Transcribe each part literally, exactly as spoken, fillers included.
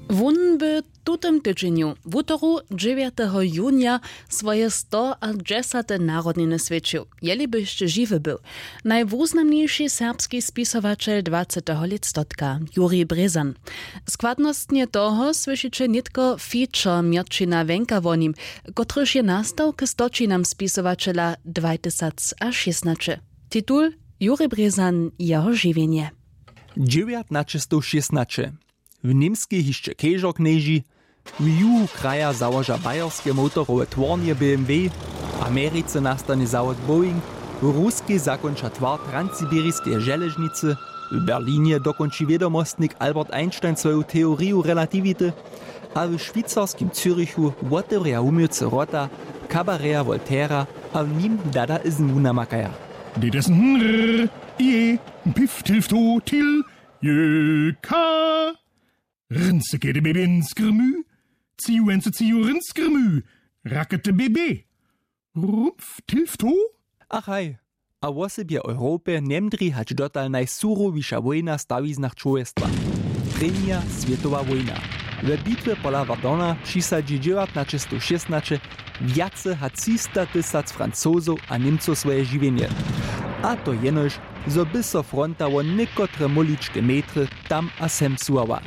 Wón by w tutym tydźenju wutoru dźewjateho junija swoje stoadźesate narodniny swjećił, jeli by hišće žiwy był. Najwuznamniši serbski spisowaćel dwaceteho lětstotka, jurij brězan. Składnostnje toho słyšiće nětko feature mjerćina wenka wo nim, kotryž je nastał k stoćinam spisowaćela dwajtysacšěstnaće. Titul: Jurij brězan, jeho žiwjenje. Dźewjatnaćestowšěstnaće. W Němskej hišće kežor knježi, w juhu kraja załoža bajerske motorowe twornje BMW, w Americe nastanje zawod Boeing, w Ruskej zakónča twar transsibiriskeje železnicy, w Berlinje dokónči wědomostnik Albert Einstein swoju teoriju relatiwity, a w šwicarskim Zyrichu wotewrja wuměłcy wrota kabareja Voltaira a w nim Dadaism wunamakaja. Dadaism, hnrr, ie, pif, tilf, to, til, je, ka. Rynce kede bebě nskrmy, ciju wence ciju rynskrymy, rakete bebě. Rumpf tilfto? Ach haj, a wosebje w Europje njemdrěj hač dotal najsurowiša wójna w stawiznach čłowjestwa. Prěnja swětowa wójna. We bitwje pola Verduna přisadźi dźewjatnaćestowšěstnaće wjace hač třista tysac Francozow a Němcow swoje žiwjenje. A to jenož, zo by so fronta wo někotre móličke metry tam a sem suwała.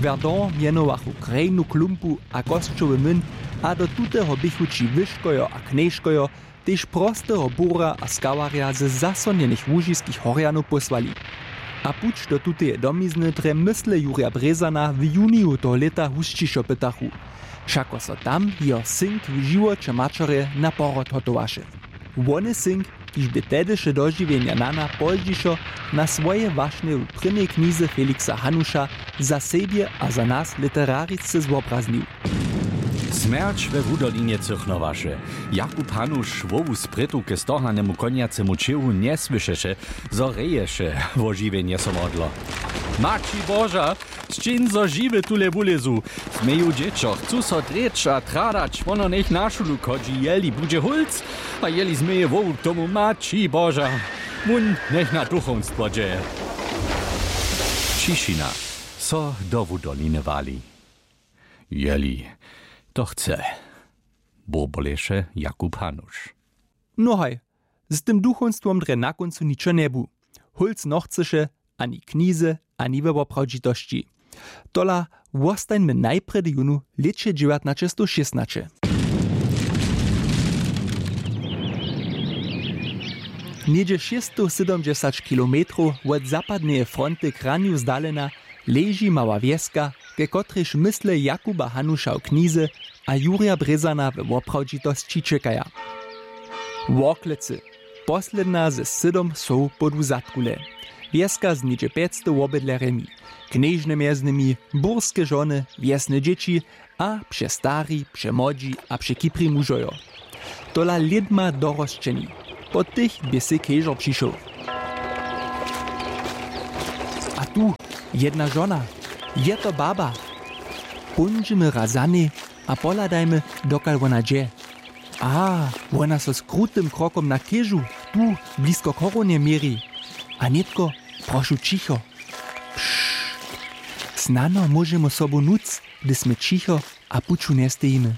Verdun mjenowachu krejnu klumpu a kosćoły młyn, a do tuteho běchu ći wyškojo a knježkojo, tež prosteho burja a skawarja ze zasonjenych łužiskich horjanow pósłali. A puć do tuteje domizny drje mysle Jurja Brězana w juniju toho lěta husćišo pytachu, wšako so tam jeho synk w žiwoće maćerje na porod hotowaše. Wone synk, kiž bě tehdyše dožiwjenja nana pozdźišo na swoje wašnje w prěnjej knize Felixa Hanuša za sebje a za nas literarisce zwobraznił. Smjerć we wudolinje cychnowaše. Jakub Hanuš wołu sprětowke stohanemu konjacemu ćěhu njesłyšeše, zo reješe, wo žiwjenje so modlo. Maći Boža, sćiń, zo žiwy tule wulězu. Změju dźěćo, chcu so drěć a tradać, wono njech na šulu chodźi, jeli budźe hólc, a jeli změje wołu k tomu, Maći Boža, wón njech na duchowstwo dźe. Ćišina so do wudoliny wali. Jeli to chce, burboleše Jakub Hanuš. Nohaj, z tym duchowstwom drje na kóncu ničo njebu. Hólc nochcyše ani knize, ani we woprawdźitosći. Tola wostańmy najprjedy jónu lěće dźewjatnaćestowšěstnaće. Něhdźe šěsćstowsydomdźesać kilometrow wot zapadneje fronty k ranju zdalena leži mała wjeska, ke kotrejž mysle Jakuba Hanuša w knize a Jurja Brězana we woprawdźitosći čěkaja. Worklecy, posledna ze sydom wsow podu Zadkule. Wjeska z něhdźe pjećstow wobydlerjemi, knježne mjez nimi, burske žony, wjesne dźěći a přestari, přemłodźi a překiprji mužojo. Tola lědma dorosćeni. Po tych bě sej kežor přišoł. A tu jedna žona. Je to baba. Póńdźemy raz za njej a pohladajmy, dokal wona dźe. A, wona so z krutym krokom na kežu tu blisko chorownje měri. A nětko, prošu, ćicho. Pšt. Snano móžemy sobu nuc, hdyž smy ćicho a puću njestejimy.